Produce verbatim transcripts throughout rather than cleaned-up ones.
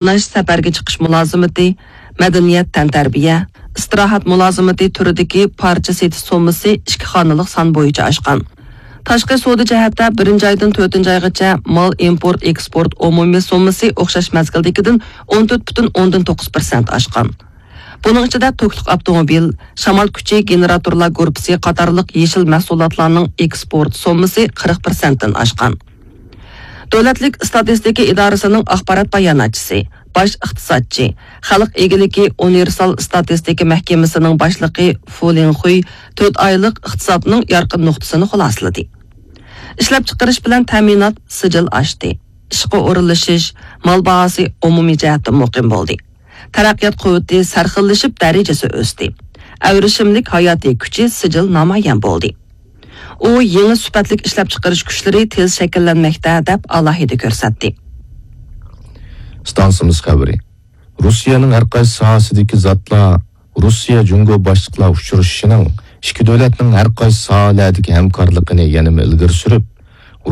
قاتناش، سەپەرگە چىقىش مۇلازىمىتى، مەدەنىيەت، تەنتەربىيە، ئىستىراھەت مۇلازىمىتى تۈرىدىكى پارچە سېتىش سوممىسى ئىككى خانىلىق سان بويىچە ئاشقان. تاشقى سودا جەھەتتە بىرىنچى ئايدىن تۆتىنچى ئايغىچە مال ئىمپورت، ئېكسپورت ئومۇمىي سوممىسى ئوخشاش مەزگىلدىكىدىن ئون تۆت پۈتۈن ئوندىن توققۇز پىرسەنت ئاشقان. بۇنىڭ ئىچىدە توكلۇق ئاپتوموبىل، شامال كۈچى گېنېراتورلار گۇرۇپپىسى قاتارلىق يېشىل مەھسۇلاتلارنىڭ ئېكسپورت سوممىسى قىرىق پىرسەنتتىن ئاشقان. دۆلەتلىك ئىستاتىستىكا ئىدارىسىنىڭ ئاخبارات باياناتچىسى، باش ئىقتىسادچى، خەلق ئىگىلىكى ئۇنىۋېرسال ئىستاتىستىكا مەھكىمىسىنىڭ باشلىقى فۇ لىنخۇي تۆت ئايلىق ئىقتىسادنىڭ يارقىن نۇقتىسىنى خۇلاسىلىدى. ئىشلەپچىقىرىش بىلەن تەمىنات سىجىل ئاشتى. ئىشقا ئورۇنلىشىش، مال باھاسى ئومۇمىي جەھەتتە مۇقىم بولدى. تەرەققىيات قۇۋۋىتى سەرخىللىشىپ دەرىجىسى ئۆستى. ئەۋرىشىملىك ھاياتىي كۈچى سىجىل نامايان بولدى. ئۇ يېڭى سۈپەتلىك ئىشلەپچىقىرىش كۈچلىرى تېز شەكىللەنمەكتە، دەپ ئالاھىدە كۆرسەتتى. ئىستانسىمىز خەۋىرى. روسىيەنىڭ ھەر قايسى ساھەسىدىكى زاتلار، روسىيە جۇڭگو باشلىقلار ئۇچرىشىشىنىڭ ئىككى دۆلەتنىڭ ھەر قايسى ساھەلەردىكى ھەمكارلىقىنى يەنىمۇ ئىلگىرى سۈرۈپ،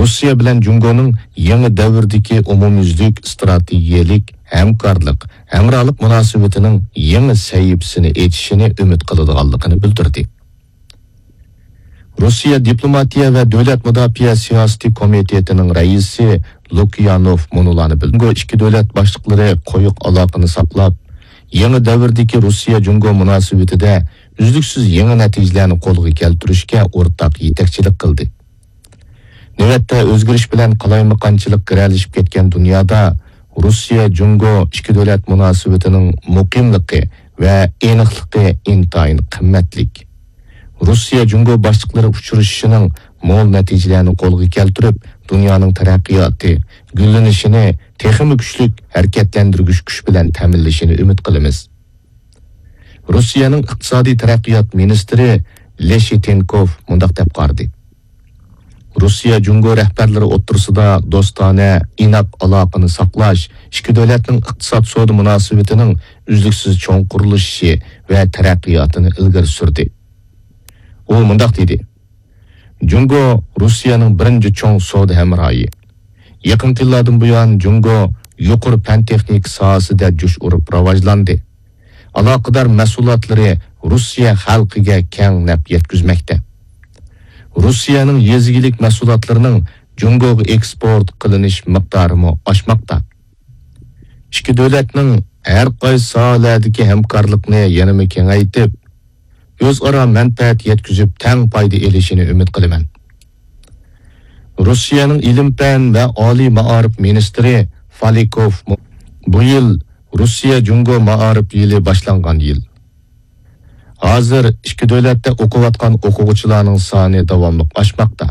روسىيە بىلەن جۇڭگونىڭ يېڭى دەۋردىكى ئومۇميۈزلۈك ئىستراتېگىيەلىك ھەمكارلىق، ھەمراھلىق مۇناسىۋىتىنىڭ يېڭى سەھىپىسىنى ئېچىشىنى ئۈمىد قىلىدىغانلىقىنى بىلدۈردى. روسىيە دىپلوماتىيە ۋە دۆلەت مۇداپىئە سىياسىتى كومىتېتىنىڭ رەئىسى لۇكيانوف مۇنۇلارنى بىلدۈردى. جۇڭگو ئىككى دۆلەت باشلىقلىرى قويۇق ئالاقىنى ساقلاپ، يېڭى دەۋردىكى روسىيە جۇڭگو مۇناسىۋىتىدە ئۈزلۈكسىز يېڭى نەتىجىلەرنى قولغا كەلتۈرۈشكە ئورتاق يېتەكچىلىك قىلدى. نۆۋەتتە ئۆزگىرىش بىلەن قالايمىقانچىلىق گىرەلىشىپ كەتكەن دۇنيادا روسىيە جۇڭگو ئىككى دۆلەت مۇناسىۋىتىنىڭ مۇقىملىقى ۋە ئېنىقلىقى ئىنتايىن قىممەتلىك. روسىيە جۇڭگو باشلىقلىرى ئۇچرىشىشىنىڭ مول نەتىجىلەرنى قولغا كەلتۈرۈپ، دۇنيانىڭ تەرەققىياتى، گۈللىنىشىنى تېخىمۇ كۈچلۈك ھەرىكەتلەندۈرگۈچ كۈچ بىلەن تەمىنلىشىنى ئۈمىد قىلىمىز. روسىيەنىڭ ئىقتىسادىي تەرەققىيات مىنىستىرى لېشىتېنكوف مۇنداق دەپ قارىدى: روسىيە جۇڭگو رەھبەرلىرى ئوتتۇرىسىدا دوستانە، ئىناق ئالاقىنى ساقلاش ئىككى دۆلەتنىڭ ئىقتىساد سودا مۇناسىۋىتىنىڭ ئۈزلۈكسىز چوڭقۇرلىشىشى ۋە تەرەققىياتىنى ئىلگىرى سۈردى. ئۇ مۇنداق دېدى: جۇڭگو روسىيەنىڭ بىرىنچى چوڭ سودا ھەمراھى. يېقىنقى يىللاردىن بۇيان جۇڭگو يۇقىرى پەن تېخنىكا ساھەسىدە جۇش ئۇرۇپ راۋاجلاندى. ئالاقىدار مەھسۇلاتلىرى روسىيە خەلقىگە كەڭ نەپ يەتكۈزمەكتە. روسىيەنىڭ يېزا ئىگىلىك مەھسۇلاتلىرىنىڭ جۇڭگوغا ئېكسپورت قىلىنىش مىقدارىمۇ ئاشماقتا. ئىككى دۆلەتنىڭ ھەر قايسى ساھەلەردىكى ھەمكارلىقنى يەنىمۇ كېڭەيتىپ، ئۆزئارا مەنپەئەت يەتكۈزۈپ، تەڭ پايدا ئېلىشىنى ئۈمىد قىلىمەن. روسىيەنىڭ ئىلىم-پەن ۋە ئالىي مائارىپ مىنىستىرى فالىكوف مۇ-، بۇ يىل روسىيە جۇڭگو مائارىپ يىلى باشلانغان يىل. ھازىر ئىككى دۆلەتتە ئوقۇۋاتقان ئوقۇغۇچىلارنىڭ سانى داۋاملىق ئاشماقتا.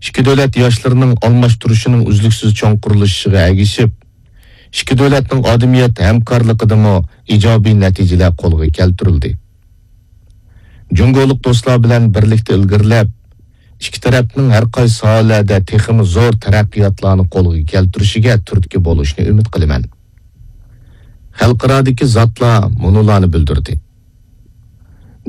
ئىككى دۆلەت ياشلىرىنىڭ ئالماشتۇرۇشىنىڭ ئۈزلۈكسىز چوڭقۇرلىشىشىغا ئەگىشىپ، ئىككى دۆلەتنىڭ ئادەمىيەت ھەمكارلىقىدىمۇ ئىجابىي نەتىجىلەر قولغا كەلتۈرۈلدى. جۇڭگولۇق دوستلار بىلەن بىرلىكتە ئىلگىرىلەپ، ئىككى تەرەپنىڭ ھەر قايسى ساھەلەردە تېخىمۇ زور تەرەققىياتلارنى قولغا كەلتۈرۈشىگە تۈرتكە بولۇشنى ئۈمىد قىلىمەن. خەلقئارادىكى زاتلار مۇنۇلارنى بىلدۈردى.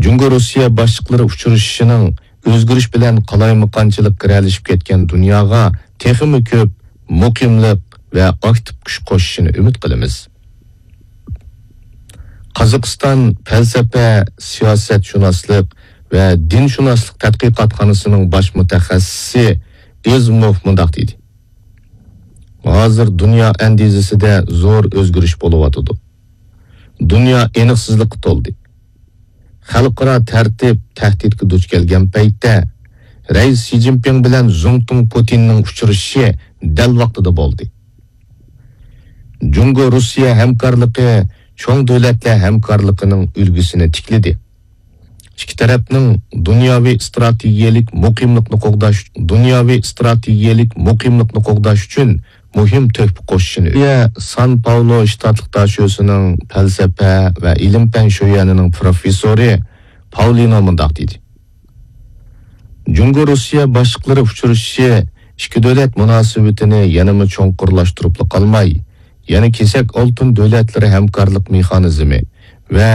جۇڭگو روسىيە باشلىقلىرى ئۇچرىشىشىنىڭ ئۆزگىرىش بىلەن قالايمىقانچىلىق گىرەلىشىپ كەتكەن دۇنياغا تېخىمۇ كۆپ مۇقىملىق ۋە ئاكتىپ كۈچ قوشۇشىنى ئۈمىد قىلىمىز. قازاقىستان پەلسەپە، سىياسەتشۇناسلىق ۋە دىنشۇناسلىق تەتقىقاتخانىسىنىڭ باش مۇتەخەسسىسى ئېزموف مۇنداق دېدى: ھازىر دۇنيا ئەندىزىسىدە زور ئۆزگىرىش بولۇۋاتىدۇ. دۇنيا ئېنىقسىزلىققا تولدى. خەلقئارا تەرتىپ تەھدىتكە دۇچ كەلگەن پەيتتە، رەئىس شى جىنپىڭ بىلەن زۇڭتۇڭ پۇتىننىڭ ئۇچرىشىشى دەل ۋاقتىدا بولدى. جۇڭگو روسىيە ھەمكارلىقى چوڭ دۆلەتلەر ھەمكارلىقىنىڭ ئۈلگىسىنى تىكلىدى. ئىككى تەرەپنىڭ دۇنياۋى ئىستراتېگىيەلىك مۇقىملىقنى قوغداش، دۇنياۋى ئىستراتېگىيەلىك مۇقىملىقنى قوغداش ئۈچۈن مۇھىم تۆھپە قوشۇشىنى، سان پاولو شتاتلىق داشۆسىنىڭ پەلسەپە ۋە ئىلىم-پەن شۆيۈەنىنىڭ پروفېسسورى پاۋلىنو مۇنداق دېدى: جۇڭگو روسىيە باشلىقلىرى ئۇچرىشىشى ئىككى دۆلەت مۇناسىۋىتىنى يەنىمۇ چوڭقۇرلاشتۇرۇپلا قالماي، يەنە كېسەك ئالتۇن دۆلەتلىرى ھەمكارلىق مېخانىزمى ۋە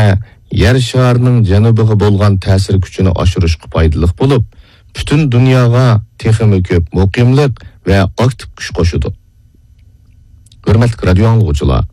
يەر شارىنىڭ جەنۇبىغا بولغان تەسىر كۈچىنى ئاشۇرۇشقا پايدىلىق بولۇپ، پۈتۈن دۇنياغا تېخىمۇ كۆپ مۇقىملىق ۋە ئاكتىپ كۈچ قوشىدۇ. ھۆرمەتلىك رادىيو ئاڭلىغۇچىلار!